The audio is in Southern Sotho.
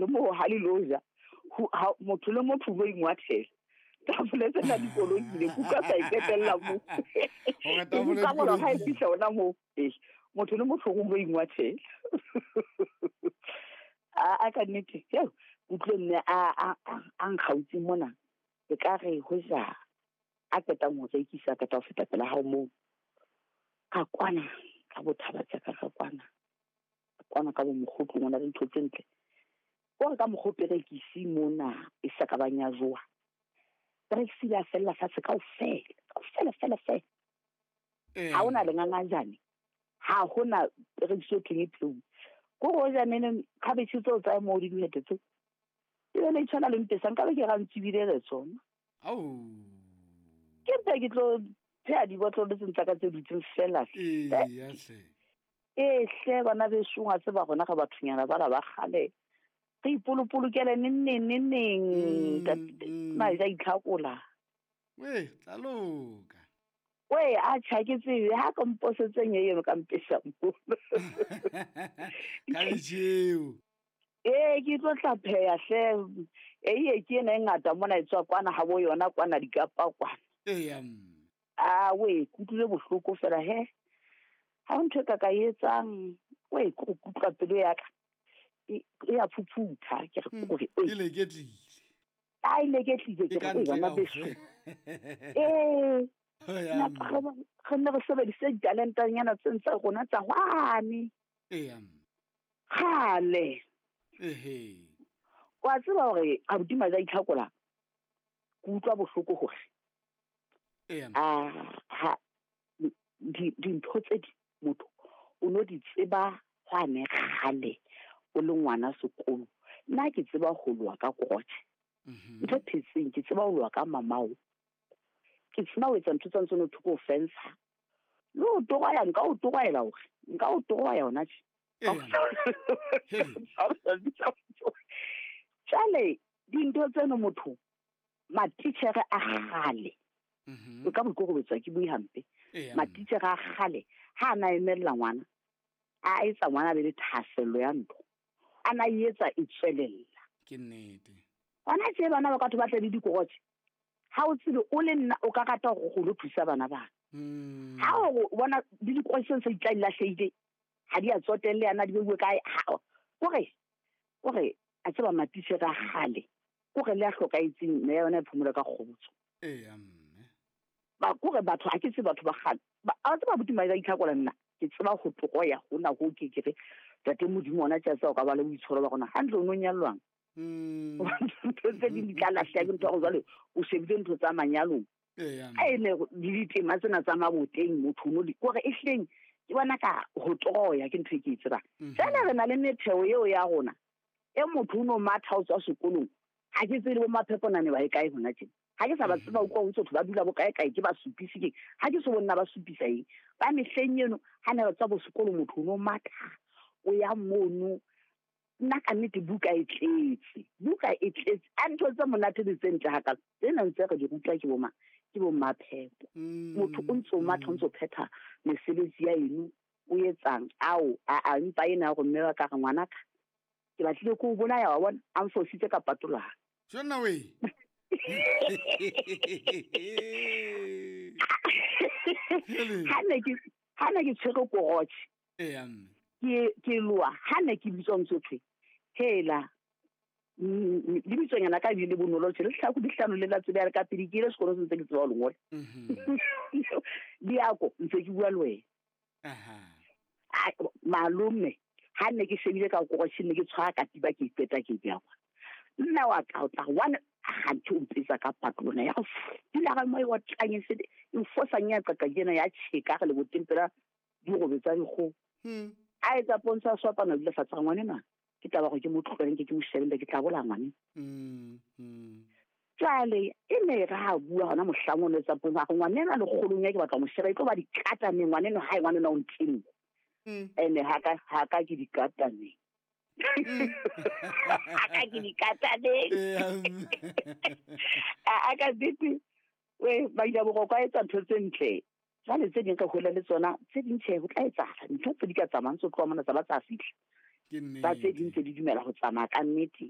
moo ha le lo ja motho le motho o ingwathela tafole tsena di kolokile kuka sa iketella moo ka mora ha e fihla ona moo ee motho le motho o ingwathela a ka nnete eo utlwe mme a nkgautse mona e ka re ho ja a qetang ho rekisa ka ho feta pela hao moo ka kwana ka bothaba tsa ka ka kwana kwana ka bo mokgotlong ona le ntho tse ntle o re ka mokgo perekisi mona e sa ka bang ya jowa perekisi ya fella fatshe kaofela kaofela fela fela ha ona lengangajane ha hona perekisi o thweng e tlou ko go ja nene khabetšhe tseo tsa mo di dihete tse e bene e tshwana le mpesa nka be ke ga ntsibile re tsona ke mpe ke tlo pheha dibotlolo tse ntsa ka tse dutseng fela ee hle bana besong a tseba gona ga bathonyana bala ba kgale re ipolopolokele neng neng neng neng ja itlhakola we tla loka we a tjha ke tsebe ha ka mposetseng e eno ka mpesa mo ka lejeo ee ke tlo tla pheya hle eiye ke ena e ngata mona e tswa kwana ha bo yona kwana dikapa kwana eya a we kutlwile bohloko fela he ha ho ntho e ka ka etsang we ke go kutlwa pelo ya ka e ya phuphutha ke re kore e leketlile a e leketlile ke re bana beso ee re ne re sebedise ditalentanyana tse tsa rona tsa hwane eya kgale ehe wa tseba hore abuti Maja itlhakola ke utlwa bohloko hore eya ha dintho tse di motho o no di tseba hwane kgale o le ngwana sekolo nna ke tseba ho loa ka krotjhe ntho phetseng ke tseba ho loa ka mamao ke tseba ho etsa ntho tsa ntse no thoko fensa le ho toroya nka o toroela hore nka o toroya hona tje jwale dintho tseno motho matitjhere a kgale nka boikokobetso ke bue hampe matitjhere a kgale ha a na emella ngwana a etsa ngwana be le thahasello ya ntho a na etsa e tswelella ke nnete hona tje bana ba ka batho ba tle le dikorotjhe ha o tsebe o le nna o ka rata hore o lo thusa bana bana ha o bona le dikorotjhe tse di tla lahlehile ha di a tsotelle yana di beuwe kae kore a tseba matitjhere a kgale kore le a hlokaetseng mme ya yona e phomolo ka kgotso eya mme ba kore batho ha ke tsebe batho ba kgale a tseba abuti Maja itlhakola nna ke tseba ho toroya hona ho ke ke re tate Modimo ona tja tsa o ka ba le boitshwaro ba rona hantle o no nyallwang ntho tse ding di tla lahleha ke ntho ya gore jwale o shebile ntho tsa manyalong a e ne le ditema tsena tsa maboteng motho no di kore e hleng ke bona ka ho toroya ke ntho e ke e tsebang jwale re na le metheo eo ya rona e motho o no matha o tswa sekolong ha ke tsebe le bo mapheponane ba e kae hona tjena ha ke sa ba tseba utlwa ho ntse ba dula bo kae kae ke ba supise ke ha ke so bonna ba supisa eng ba mehleng eno ha ne re tswa bo sekolo motho o no matha o ya mono nna ka nnete buka e tletse a ntho tse monate le tse ntle hakalo tsena ntse re di rutwa ke bo ke bo maphepo motho o ntse o matha o ntse o phetha mesebetsi ya eno o etsang ao a mpa ena hore mme wa ka re ngwanaka ke batlile ko o bolaya wa bona a mfositse ka patolwana jonna we ha ne ke tshwere korotjhe ke loa ha ne ke bitswa ntse thwe hela le bitsonyana ka bile bonolo tjhe le tlhaku di hlano le la tsebe ya ka pele ke ile sekolo se ntse ke tseba ho lengola diako ntse ke bua le wena malome ha ne ke shebile ka korotjhe ne ke tshwara katiba ke iqeta ke beya kwa nna wa ka o tla one ganthe o mpetsa ka patlona ya dula ga mo wa tlanye se e fosang ya qaqa jena ya tjheka re le boteng pela dirobe tsa dikgoho a etsa pontsho a swapana dula fatshe ga ngwanenwa ke taba gore ke mo tlogeleng ke mo shebelle ke tla bolaya ngwane jwale e ne re ha bua hona mohlang o no etsa pontsho a re ngwanenwa lekgolong ya ke batla mo sheba e tlo ba dikataneng ngwanenwa hae ngwanenwa o ntleng ene ha ka ke dikataneng ha ka ke dikataneng a ka dite we ba ile boroko a etsa ntho tse ntle jwale tse ding ka hola le tsona tse ding tjhe ho tla etsahala ntho tse di ka tsamayang tse tloha mona tsa ba tsa fihla ba tse ding tse di dumela ho tsamaya ka nnete